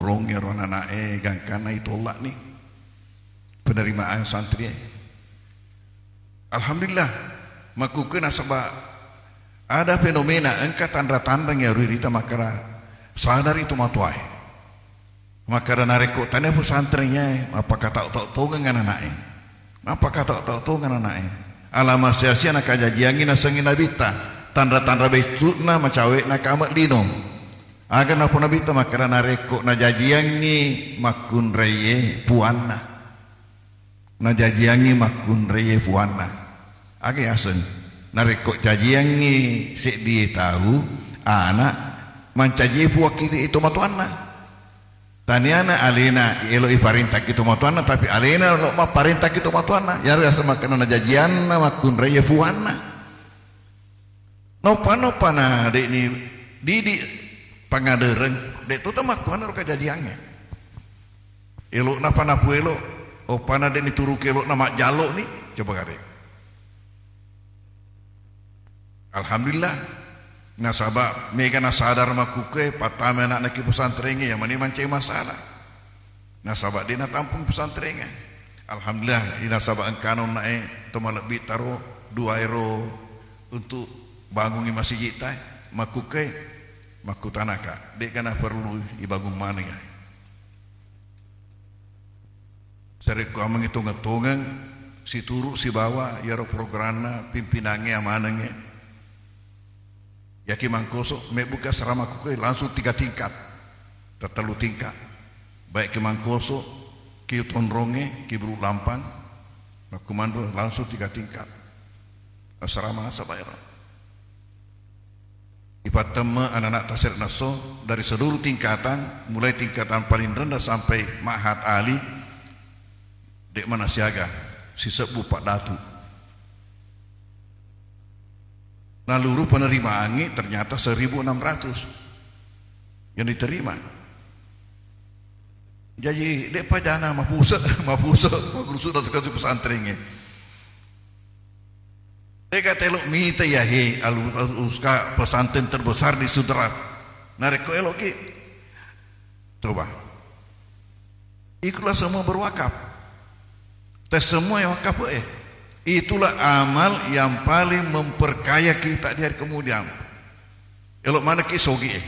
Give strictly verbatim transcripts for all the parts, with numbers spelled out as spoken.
Longngi ro anana'e gangkanna itolla'ni penerimaan santri e. Alhamdulillah, makkukkue nasaba ada fenomena engka tanra-tanrang iya ri rita makkeda sadari tomatoae. Makkeda narekko tania pesantren iyae, mappakatau-tau tongeng anana'e. Mappakatau-tau tongeng anana'e. Alama sia-sia nakajajiangngi nasengngi nabitta, tanra-tanra beccu'na macawe'na kame' lino. Aga napau nabitta makkeda narekko najajiangngi makkunraie puanna. Najajiangngi makkunraie puanna. Aga yaseng? Narekko cajiangngi seddie tau ana' mancajie puakki tomatoanna. Taniana alena elo iparentaki tomatoanna, tapi alena lo mapparentaki tomatoanna. Iyaro yaseng makkeda najajianna makkunraie puanna. Noppa-noppa na de'ni didi pangadereng, de' to tamakkuanna ro kajajiangnge. Elo'na pa napuelo, oppana de'ni turuki elo'na majjallo'ni, coba kade. Alhamdulillah. Nasaba mega nasadar makkukkue pattama ana'na ki pesantrengnge, iya mani mancai masalah. Nasaba de' natampung pesantrengnge. Alhamdulillah, nasaba engkana onna'e to malebbi taro dua ero untuk bangungi masiji'ta, makkukkue, makkutanaka, de'ga naperlu ibangun maneng ya. Sarekkuammengngi tongeng-tongeng, situru sibawa iyaro programna pimpinangnge amanengnge. Yaki Mangkoso, mebbuka asrama kukkue langsung tiga tingkat, tattellu tingkat. Baik ki Mangkoso, ki Tonrongnge, ki Bulu Lampang, makkumanro langsung tiga tingkat. Asrama nasaba ero. Ipattemme anak-anak tasere' nasso dari seluruh tingkatan, mulai tingkatan paling rendah sampai Ma'had Ali, de' mana siaga, sisebbu Pak Datu. Naluru penerimaangngi ternyata seribu enam ratus yang diterima. Jaji, de' pajana mapuse', mapuse', mapuse' datu kasu pesantrengnge. De'ga telo mita iya, he, alu-, aluska pesantren terbesar di Sumatera. Narekko eloki, coba. Itulah semua berwakaf. Tes semua yang wakaf, eh. Itulah amal yang paling memperkaya kita di hari kemudian. Elo manekki sogi, eh.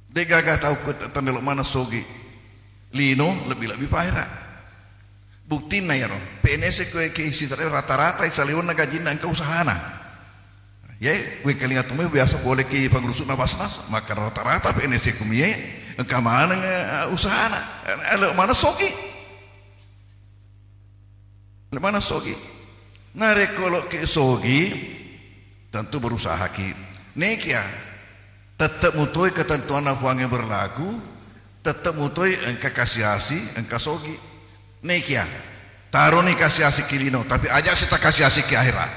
De'gaga tau ko tan elo maneng sogi. Lino lebbi-lebbi pa ahera. Buktinna iyaro, P N S ko ki Sumatera rata-rata saliwenna gajinna engka usahana. Ye, wengkalinga tumai biasa pole ki pangurusu'na Basnas, maka rata-rata P N S kumie engka maneng, eh, usahana. Elo maneng sogi. Elo maneng sogi. Narekko loki sogi, tentu berusahaki. Nekia, tette mutoi ketentuanna Puangnge berlaku, tette mutoi engka kasiasi, engka sogi. Nekia, taroni kasiasi ki lino, tapi aja sita kasiasi ki ahera.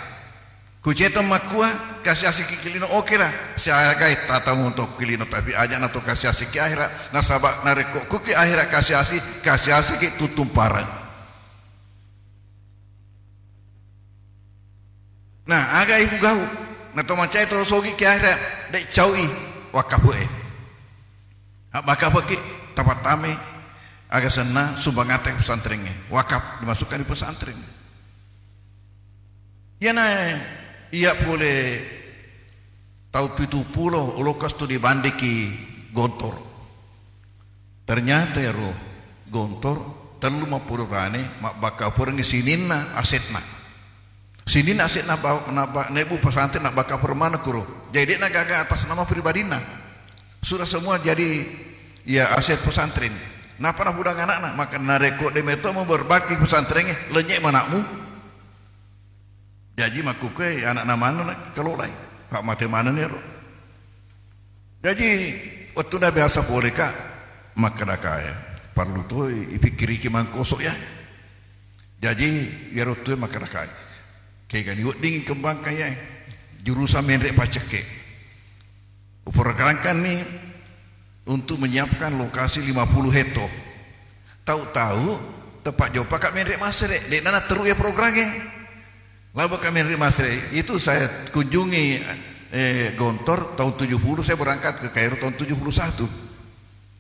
Kucetong makkua, kasiasi ki lino, oke lah. Siagai tata montok ki lino, tapi aja nato kasiasi ki ahera. Nasaba narekko kuki ahera kasiasi, kasiasi ki tuttung pareng. Nah, aga ipugau? Na to mancai to sogi ki ahera, de' caui wakafe'e. Abbakafeki, tapattame, aga senna sumbangatta pesantrengnge. Wakaf dimasukkan di pesantren. Iyana iya pole tau pitu pulo ulokka studi banding ki Gontor. Ternyata ero Gontor tellu mappulo rane mabbakka perengngi sininna asetna. Sininna asetna ba-, nabba-, nebbu pesantren nabbakka pereng maneng kuro. Jadi de'na gaga atas nama pribadinna. Sudah semua jadi ya aset pesantren. Napa napudang anakna? Maka narekko de' meto mu berbakti pesantrengnge, lenye manakmu. Jaji makkukue anakna maneng nakelolai. Pak mate maneng ero. Jaji, wettuna biasa poleka, makkedakae, parellu toi ipikkiriki Mangkoso ya. Jaji, iyaro tue makkedakae, kegani weddingngi kembangkan yae, jurusan menre paccekke. Uprogramkanni untuk menyiapkan lokasi lima puluh hekto. Tau-tau, tepat jopaka menre masere, de'na natteru ya programnya. Laboka menre masere, itu saya kunjungi, eh, Gontor tahun tujuh puluh, saya berangkat ke Kairo tahun tujuh puluh satu.